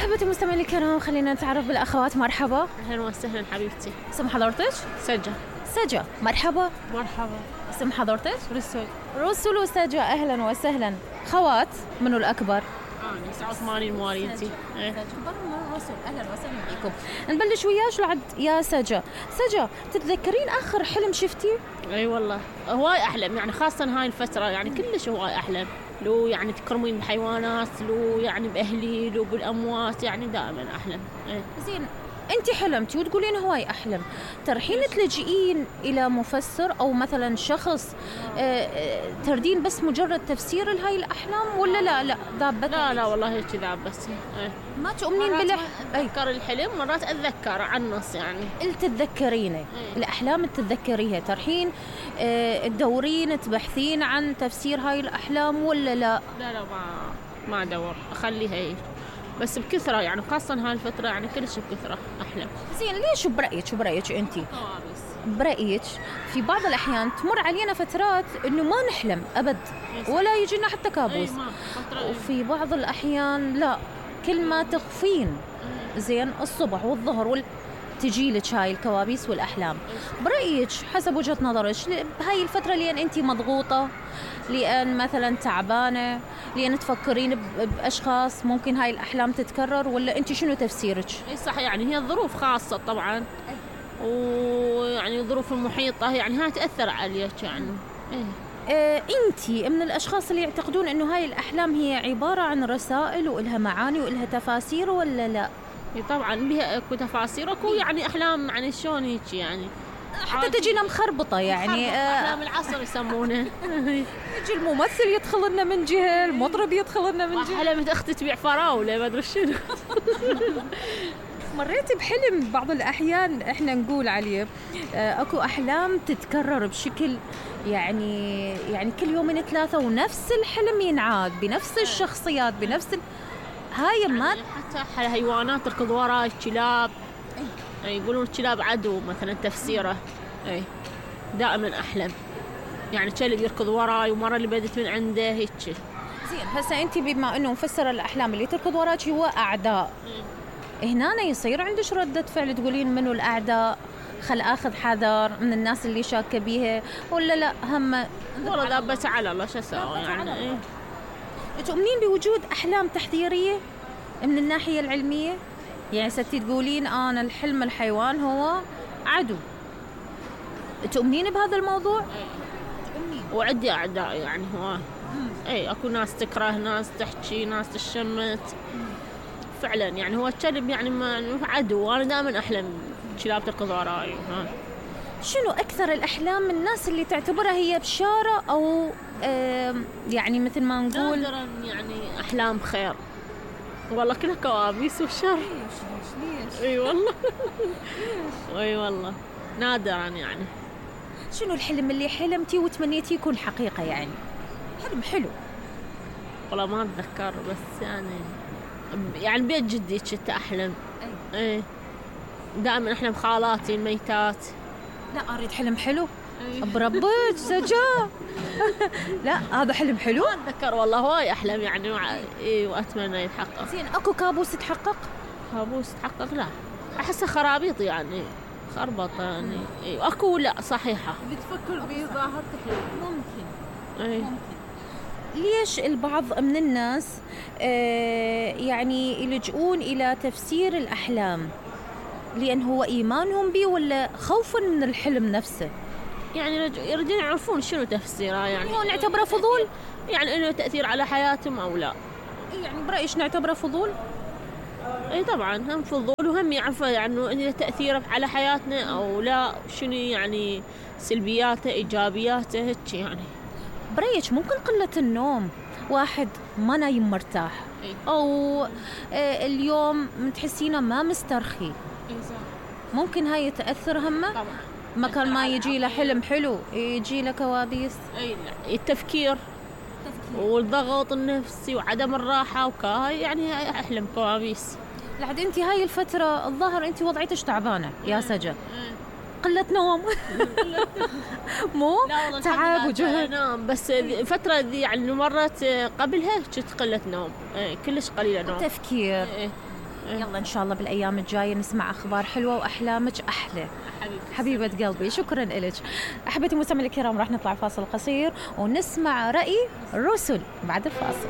أحبتي المستمعين الكرام، خلينا نتعرف بالأخوات. مرحبا. أهلا وسهلا حبيبتي. اسم حضرتك؟ سجا. مرحبا. اسم حضرتك؟ رسل وسجا. أهلا وسهلا. خوات منو الأكبر؟ 89 مواليدي. أكبر من رسل. أهلا وسهلا بكم. نبلش وياش لعد يا سجا. تتذكرين آخر حلم شفتي؟ أي والله هواي أحلم، يعني خاصة هاي الفترة يعني كلش هواي أحلم، لو يعني تكرمين بحيوانات، لو يعني بأهلي، لو بالأموات، يعني دائما أحلم. زين، أنت حلمتي وتقولين هواي أحلم، ترحين تلجئين إلى مفسر أو مثلا شخص تردين بس مجرد تفسير لهاي الأحلام ولا لا ذابت؟ لا والله هيك ذاب بس. ما تؤمنين أذكر الحلم، مرات أتذكر عن النص يعني. تتذكرينه الأحلام تتذكريها، ترحين تدورين تبحثين عن تفسير هاي الأحلام ولا لا؟ لا ما أدور، أخليها هيك بس بكثرة، يعني خاصة هاي الفترة يعني كلش بكثرة أحلم. زين، ليش شو برأيك أنتي؟ برأيك في بعض الأحيان تمر علينا فترات إنه ما نحلم أبد ولا يجينا حتى كابوس، وفي بعض الأحيان لا، كل ما تخفين زين الصبح والظهر تجيلك هاي الكوابيس والأحلام. برأيك حسب وجهة نظرك هاي الفترة لأن أنتي مضغوطة، لأن مثلا تعبانة، لأن تفكرين بأشخاص ممكن هاي الأحلام تتكرر، ولا أنتي شنو تفسيرك؟ صح، يعني هي الظروف خاصة طبعا، ويعني الظروف المحيطة يعني هاي تأثر عليك يعني. أنتي من الأشخاص اللي يعتقدون أنه هاي الأحلام هي عبارة عن رسائل وإلها معاني وإلها تفاسير ولا لا؟ طبعا بها اكو تفاسير، اكو يعني احلام يعني شلون هيك يعني حتى تجينا مخربطه يعني احلام العصر يسمونه. يجي الممثل يدخل لنا من جهه، المطرب يدخل لنا من جهه، حلمت اختي تبيع فراوله ما ادري شنو. مريت بحلم بعض الاحيان احنا نقول عليه اكو احلام تتكرر بشكل يعني كل يومين ثلاثه ونفس الحلم ينعاد بنفس الشخصيات بنفس هاي ما حتى حيوانات تركض وراي، الكلاب يقولون الكلاب عدو مثلا تفسيره. دائما احلم يعني كلب يركض وراي، ومره اللي بدت من عنده هيك. زين، هسه انت بما انه مفسره الاحلام اللي تركض وراك هو اعداء، هنا يصير عندك رده فعل تقولين منو الاعداء، خل اخذ حذر من الناس اللي شاكه بيها، ولا لا هم والله ذابت على الله شو اسوي يعني. تؤمنين بوجود احلام تحذيريه من الناحيه العلميه؟ يعني ستي تقولين انا الحلم الحيوان هو عدو، تؤمنين بهذا الموضوع؟ تؤمنين. وعندي اعداء يعني هو اكو ناس تكره، ناس تحكي، ناس تشمت. فعلا يعني هو الكلب يعني ما عدو، وانا دائما احلم كلاب تركض وراي. شنو اكثر الاحلام من الناس اللي تعتبرها هي بشاره او يعني مثل ما نقول نادرا يعني احلام خير؟ والله كلها كوابيس وشر. ليش؟ اي والله. اي والله نادرا يعني. شنو الحلم اللي حلمتي وتمنيتي يكون حقيقة يعني؟ حلم حلو. والله ما اتذكر، بس يعني بيت جدي كنت احلم. اي دائما احلم خالاتي الميتات. لا اريد حلم حلو. بربك سجا. لا هذا حلم حلو. ما اتذكر والله، هواي احلم يعني واتمنى يتحقق. زين، اكو كابوس يتحقق؟ كابوس يتحقق لا، احسه خرابيط يعني، خربطه يعني. اكو لا صحيحه اللي تفكر به ظاهرتك ممكن. ممكن. ليش البعض من الناس يعني يلجؤون الى تفسير الاحلام؟ لان هو ايمانهم به ولا خوفا من الحلم نفسه؟ يعني يريدون يعرفون شنو تفسيره، يعني هو نعتبره فضول، يعني انه تأثير على حياتهم او لا. يعني برأيش نعتبره فضول؟ اي طبعا هم فضول، وهم يعرفوا يعني انه تأثيره على حياتنا او لا، شنو يعني سلبياته ايجابياته هيك يعني. برأيك ممكن قلة النوم، واحد ما نايم مرتاح او اليوم متحسينه ما مسترخي، ممكن هاي تأثر همه؟ طبعا. مكان ما يجي له حلم حلو يجي له كوابيس. التفكير والضغط النفسي وعدم الراحة وكاي يعني أحلم كوابيس. لحد انت هاي الفترة الظاهر انت وضعيتش تعبانة يا سجا. قلة نوم. مو تعب وجهد نوم، بس فترة دي يعني مرت قبلها كنت قلة نوم، كلش قليلة نوم. تفكير. يلا إن شاء الله بالأيام الجاية نسمع أخبار حلوة وأحلامك أحلى. حبيبة قلبي شكرا لك. أحبتي المستمعين الكرام راح نطلع فاصل قصير ونسمع رأي الرسل بعد الفاصل.